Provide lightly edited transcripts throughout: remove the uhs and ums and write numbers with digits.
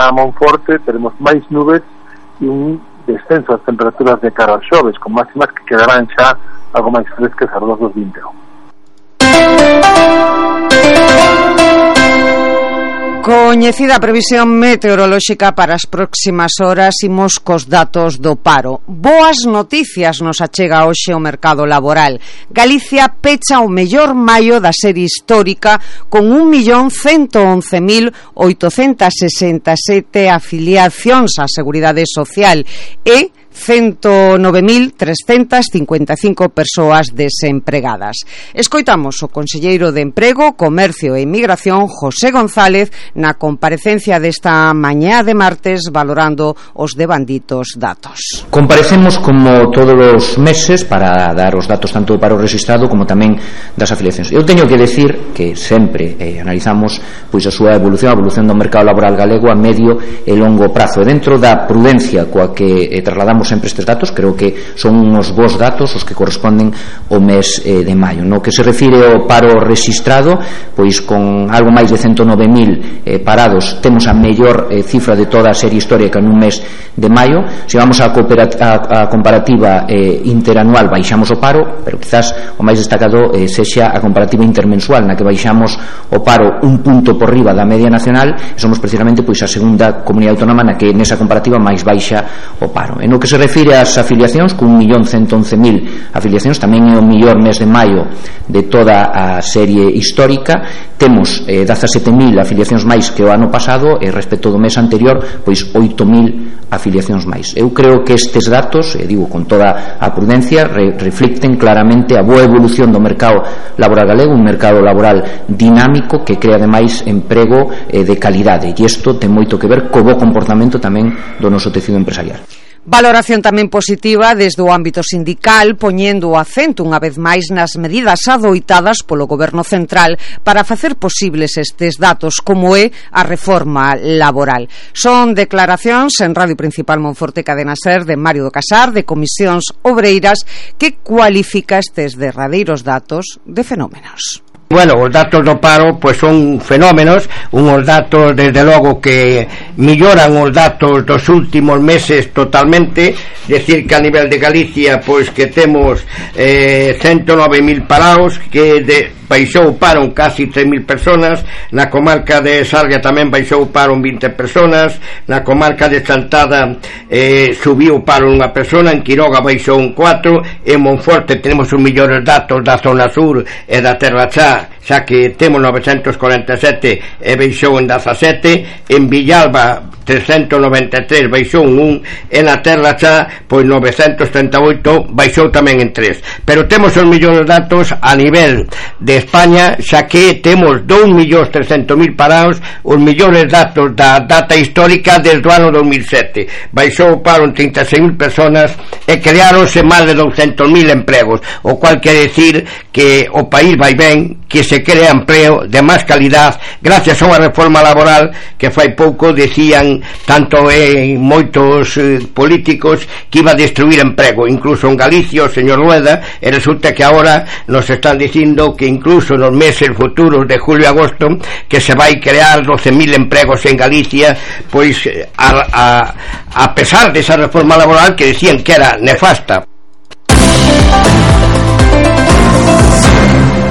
para Monforte teremos máis nubes e un descenso das temperaturas de cara aos xoves, con máximas que quedarán xa algo máis frescas alrededor dos 20. Coñecida a previsión meteorolóxica para as próximas horas, imos cos datos do paro. Boas noticias nos achega hoxe o mercado laboral. Galicia pecha o mellor maio da serie histórica con 1.111.867 afiliacións á Seguridade Social e 109.355 persoas desempregadas. Escoitamos o conselleiro de Emprego, Comercio e Inmigración, José González, na comparecencia desta mañá de martes valorando os devanditos datos. Comparecemos como todos os meses para dar os datos tanto do paro registrado como tamén das afiliacións. Eu teño que decir que sempre analizamos pois a súa evolución, a evolución do mercado laboral galego a medio e longo prazo. E dentro da prudencia coa que trasladamos sempre estes datos, creo que son uns bons datos os que corresponden ao mes de maio. No que se refire ao paro registrado, pois con algo máis de 109.000 parados, temos a mellor cifra de toda a serie histórica nun mes de maio. Se vamos a comparativa interanual, baixamos o paro, pero quizás o máis destacado sexa a comparativa intermensual, na que baixamos o paro un punto por riba da media nacional, e somos precisamente pois a segunda comunidade autónoma na que nesa comparativa máis baixa o paro. En o que se refire ás afiliacións, con 1.111.000 afiliacións, tamén é o mellor mes de maio de toda a serie histórica. Temos 17.000 afiliacións máis que o ano pasado, e respecto do mes anterior, pois 8.000 afiliacións máis. Eu creo que estes datos, digo con toda a prudencia, reflicten claramente a boa evolución do mercado laboral galego, un mercado laboral dinámico que crea ademais emprego de calidade, e isto ten moito que ver co bo comportamento tamén do noso tecido empresarial. Valoración tamén positiva desde o ámbito sindical, poñendo o acento unha vez máis nas medidas adoitadas polo Goberno Central para facer posibles estes datos, como é a reforma laboral. Son declaracións en Radio Principal Monforte Cadena Ser de Mario do Casar, de Comisións Obreiras, que cualifica estes derradeiros datos de fenómenos. Bueno, os datos do paro pois son fenómenos, unhos datos desde logo que melloran os datos dos últimos meses totalmente, decir que a nivel de Galicia pois que temos 109.000 parados, que baixou o paro en casi 3.000 personas, na comarca de Sarria tamén baixou o paro en 20 personas, na comarca de Chantada subiu o paro unha persona, en Quiroga baixou un 4, en Monforte tenemos os mellores datos da zona sur e da Terra Chá, xa que temos 947 e baixou en 17, en Villalba 393 baixou un 1, e na Terra Chá pois 938 baixou tamén en 3. Pero temos os mellores datos a nivel de España, xa que temos 2.300.000 parados, os mellores datos da data histórica desde o ano 2007. Baixou o paro en 36.000 personas e creáronse máis de 200.000 empregos, o cual quere decir que o país vai ben, que se crea empleo de máis calidad gracias a unha reforma laboral que fai pouco decían tanto moitos políticos que iba a destruir emprego, incluso en Galicia o señor Rueda, e resulta que agora nos están dicindo que incluso nos meses futuros de julio e agosto que se vai crear 12.000 empregos en Galicia, pois a pesar desa reforma laboral que decían que era nefasta.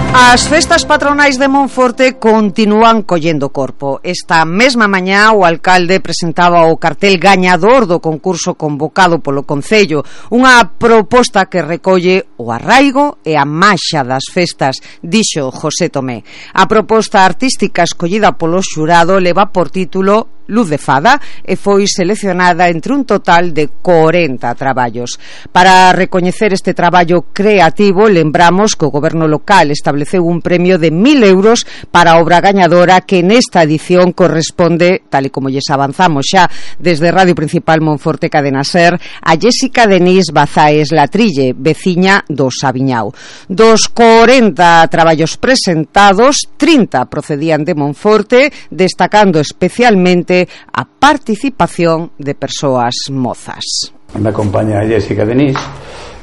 As festas patronais de Monforte continúan collendo corpo. Esta mesma mañá o alcalde presentaba o cartel gañador do concurso convocado polo Concello, unha proposta que recolle o arraigo e a maxa das festas, dixo José Tomé. A proposta artística escollida polo xurado leva por título Luz de Fada e foi seleccionada entre un total de 40 traballos. Para recoñecer este traballo creativo, lembramos que o goberno local estableceu un premio de 1.000 euros para a obra gañadora, que nesta edición corresponde, tal e como lles avanzamos xa desde Radio Principal Monforte Cadena Ser, a Jéssica Denís Bazaes Latrille, veciña do Sabiñao. Dos 40 traballos presentados, 30 procedían de Monforte, destacando especialmente a participación de persoas mozas. Me acompaña a Jéssica Denís,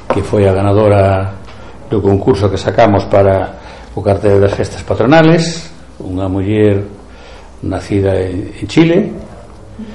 que foi a ganadora do concurso que sacamos para o cartel das festas patronales, unha muller nacida en Chile,